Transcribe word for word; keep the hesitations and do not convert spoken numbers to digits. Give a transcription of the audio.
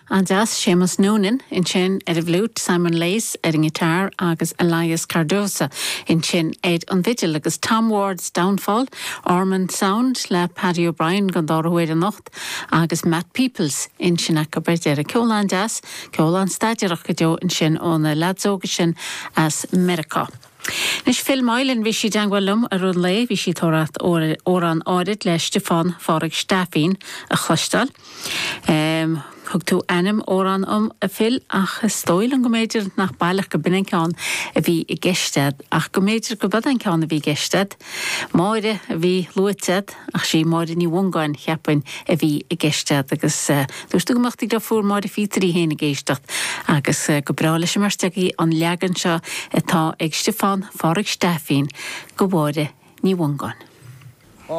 An-deas Séamus Noonan ansin ar an bhfliúit Simon Lace ar an ngiotár agus Elias Cardoza ansin ar an bhfidil agus Tom Ward's Downfall, Ormond Sound le Paddy O'Brien don dara huair anocht agus Matt Peoples ansin acu ar deireadh ceol an-deas, ceol an-staidéarach go deo ansin ó na lads óga sin as Meiriceá. Anois Phil Moylan bhí sí i dteagmháil liom ar an lé, bhí sí ag tabhairt amhrán áirid le Stiofán Phádraig Stafín a chloisteáil. Um, Thug tú ainm amhrán dom a Phil ach is dóigh liom go mb'fhéidir nach baileach go b'in an ceann a bhí i gceist agat ach go mb'fhéidir go b'in an ceann a bhí i gceist agat. Máire a bhí luaite ach sí Máire Ní Mhongáin cheapfainn a bhí i gceist agat agus uh, dúirt tú go mbeadh do dheirfiúr Máire Phíotair féin ag éisteacht agus uh, go breá leis an mbeirt an leagan seo atá ag Stiofán Phádraig Stafín go Mháire Ní Mhongáin.